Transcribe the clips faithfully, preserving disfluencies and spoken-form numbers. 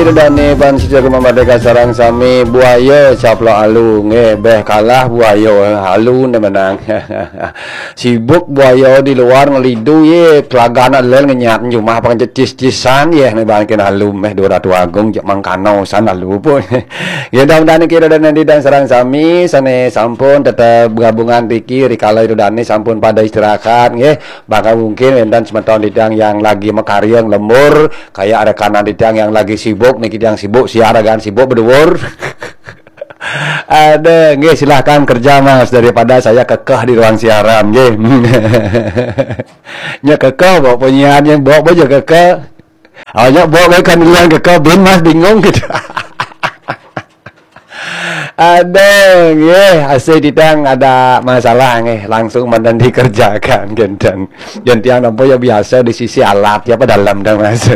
Dane ban sida Gema Merdeka sareng sami, buaya caplok alu nggih, beh kalah buaya, alu ne menang. Sibuk buaya di luar ngelidu ye, kelagan alel ngenyat jumah pakai cis-cisan ye, ne ban kin alu meh dua ratu agung jak mangkano san alu pun. Ye, mudah-mudahan kira dan nanti dan sareng sami sane sampun tetep gabungan riki rikala itu dane sampun pada istirahat nggih. Bahkan mungkin wenten semeton titiang yang lagi makarya lembur, kayak rekanan titiang yang lagi sibuk niki, titiang sibuk siar kan sibuk beduur. Ada, nggih, silahkan kerja Mas, daripada saya kekeh di ruang siaran nggih. Nya kekeh bawa penyiar yang bawa baja kekeh. Awaknya bawa kan duluan kekeh bin Mas bingung gitu. Aduh, nggih, asih titiang ada masalah nggih, langsung mandan dikerjakan genten. Gentiang nampa ya biasa di sisi alat ya apa dalam dah Mas.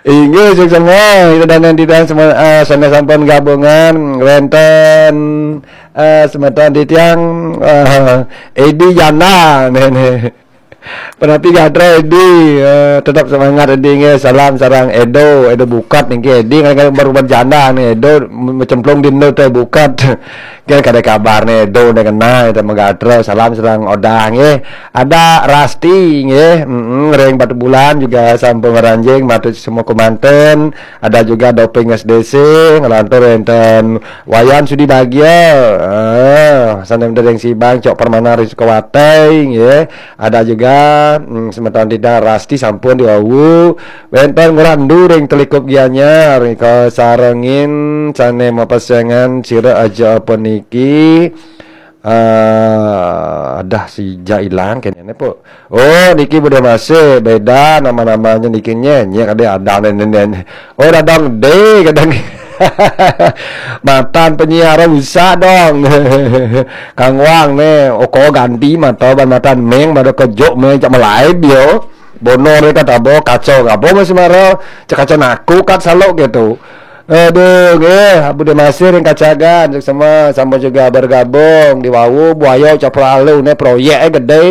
Inggih, suksema, kita dan titiang semua eh, sane sampun gabungan wenten eh, semeton titiang eh, Edi Jana nih, nih. Penapi gatra Edi, eh, tetap semangat Edi nggih. Salam sareng Edo, Edo Bukat niki Edi ngan baru berjanda nih Edo m- mencemplung di ndo teh Bukat. Kan kada kabar nih Edo nih kena itu megatra. Salam sareng Odah nggih. Ada Rasti nggih, mm ring Batu Bulan juga sampun maranjing matur semua kemanten. Ada juga Doping S D C ngelantur enten Wayan Sudi Bagia. Ah, sanem dereng Sibang Cok Permana ring Sukawati nggih. Ada juga mm, semeton titiang Rasti sampun diwawu. Wenten Ngrandu ring Telikup Gianyar nika sarengin sane mapesengan sira aja apa niki. Eh, adah sija ilang kene ne, Pok. Oh, niki Bude Masih, beda nama-namanya niki nye. Nye kade ada ne, ne, ne. Oh, dadang de kadang. Matan penyiar usah dong. Kang Wang ne, oko ganti mata ban matan meng pada kejok meng cak melaib yo. Bono mereka tabo kacau kabo masih marah. Cak kacau naku kat salok gitu. Aduh, nggih, Bude Masih ring Kacagan, suksema, sampun juga bergabung di wau, buaya campur alu ne proyek eh gede.